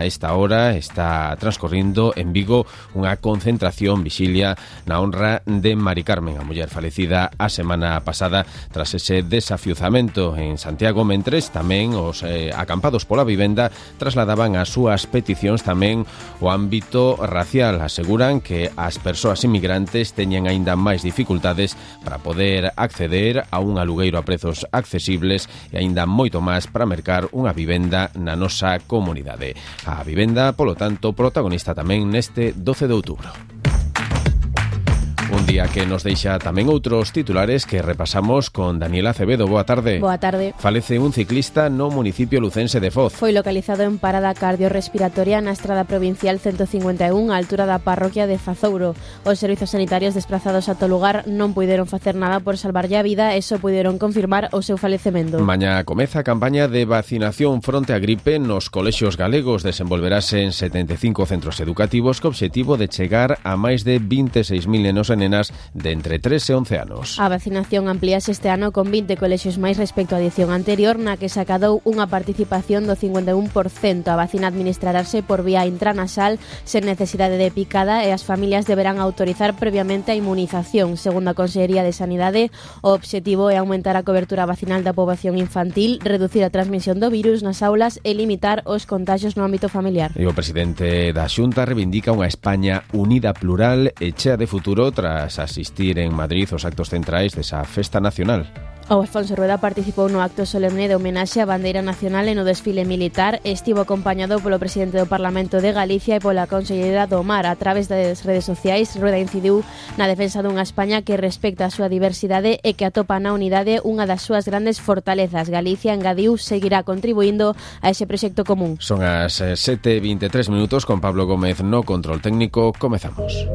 A esta hora está transcorrindo en Vigo unha concentración vixilia na honra de Mari Carmen, a muller falecida a semana pasada tras ese desafiuzamento en Santiago, mentres tamén os acampados pola vivenda trasladaban as súas peticións tamén o ámbito racial. Aseguran que as persoas inmigrantes teñen aínda máis dificultades para poder acceder a un alugueiro a prezos accesibles e aínda moito máis para mercar unha vivenda na nosa comunidade. A vivenda, polo tanto, protagonista tamén neste 12 de outubro. Un día que nos deixa tamén outros titulares que repasamos con Daniela Acevedo. Boa tarde. Boa tarde. Falece un ciclista no municipio lucense de Foz. Foi localizado en parada cardiorrespiratoria na estrada provincial 151 á altura da parroquia de Fazouro. Os servizos sanitarios desplazados ata o lugar non puideron facer nada por salvarlle a vida e só puideron confirmar o seu falecemento. Mañá comeza a campaña de vacinación fronte á gripe nos colexios galegos. Desenvolverase en 75 centros educativos co obxectivo de chegar a máis de 26.000 nenos e nenas de entre 3 e 11 anos. A vacinación amplíase este ano con 20 colexios máis respecto á edición anterior, na que se acadou unha participación do 51%. A vacina administrarase por vía intranasal sen necesidade de picada e as familias deberán autorizar previamente a inmunización. Segundo a Consellería de Sanidade, o obxectivo é aumentar a cobertura vacinal da poboación infantil, reducir a transmisión do virus nas aulas e limitar os contagios no ámbito familiar. E o presidente da Xunta reivindica unha España unida, plural e chea de futuro tras asistir en Madrid os actos centrais desa festa nacional. O Alfonso Rueda participou no acto solemne de homenaxe á bandeira nacional e no desfile militar e estivo acompañado polo presidente do Parlamento de Galicia e pola consellera do Mar. A través das redes sociais, Rueda incidiu na defensa dunha España que respecta a súa diversidade e que atopa na unidade unha das súas grandes fortalezas. Galicia, engadiu, seguirá contribuindo a ese proxecto común. Son as 7:23 minutos con Pablo Gómez no control técnico. Comezamos.